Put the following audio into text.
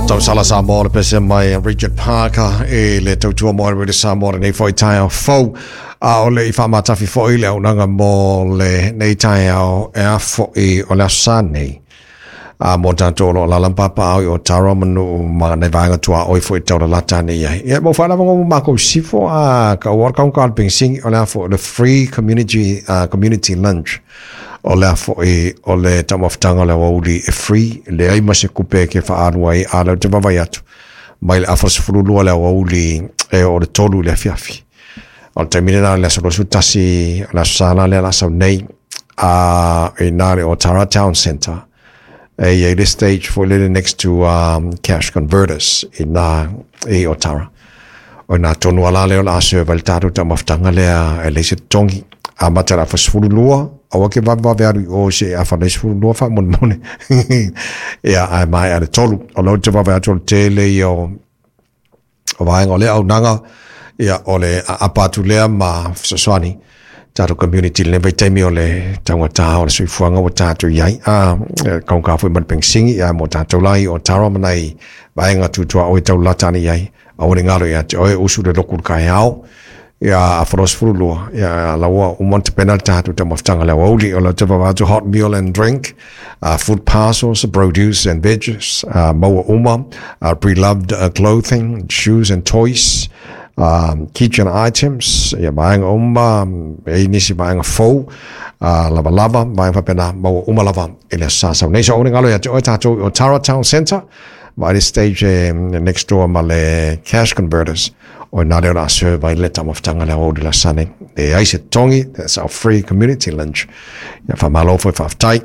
Tausala Samoa le pese mai a Richard Parker i le tautua mo le Samoa lenei foi taeao fou. A o le i faamatafi foi le auaunaga mo lenei taeao e a foi o le aso Sa nei. A mo tatou o lo o alaala ma papaaao i Otara ma nuu ma nai vaega tuaoi foi e taulalata ane i ai. Ia mo faalava mo makou sifo a ka ua kaunka o le pegisini o le a foi o le free community community lunch. O le a foi o le taumafataga o le aoauli e free, leai ma se kupe e ke faaalu ai, a lea ou te vaavaai atu, mai le afa 12 le aoauli e oo i le 3 i le afiafi. O le taimi lena o le aso 21, o le aso Sa la lea o le a sau nei, a i ina i le Otara Town Centre, e i ai le stage foi lele next to Cash Converters i ina i Otara. O ina tonu lava la lea o le a serve ai le tatou taumafataga lea e leai se totogi. Amata i le afa 12, aua ke vavevave alu i o se i afa le 12 faamolemole. Ia, ae maea i le 3. O lea ou te vaavaai atu o le tele ia o vaega o lea auaunaga, ia, o le aapa atu lea ma fesoasoani tatou community i lenei vaitaimi o le taugata o le soifuaga ua tatou i ai. A, kaunka foi ma le pegisini, ia, mo tatou la i Otara ma nai vaega tutuaoi e taulalata ane i ai. Aua ne i galo ia te oe, usu le loku i le kaeao, ia afa 22, ia la ua uma ona tapena le tatou taumafataga i le aoauli. O le te vaavaai atu hot meal and drink, food parcels, produce and veggies, maua uma, pre-loved clothing, shoes and toys, kitchen items, ia vaega uma, e i ai nisi vaega fou, lavalava, vaega faapena, maua uma lava i le aso Sa sau nei. So aua ne i galo ia te oe tatou i Otara Town Centre, Vaai le stage e next door ma le cash converters. O ina lea o le a serve ai le taumafataga le aoauli le aso Sa nei. Leai se totogi, that's our free community lunch. Ia faamalo foi faafetai.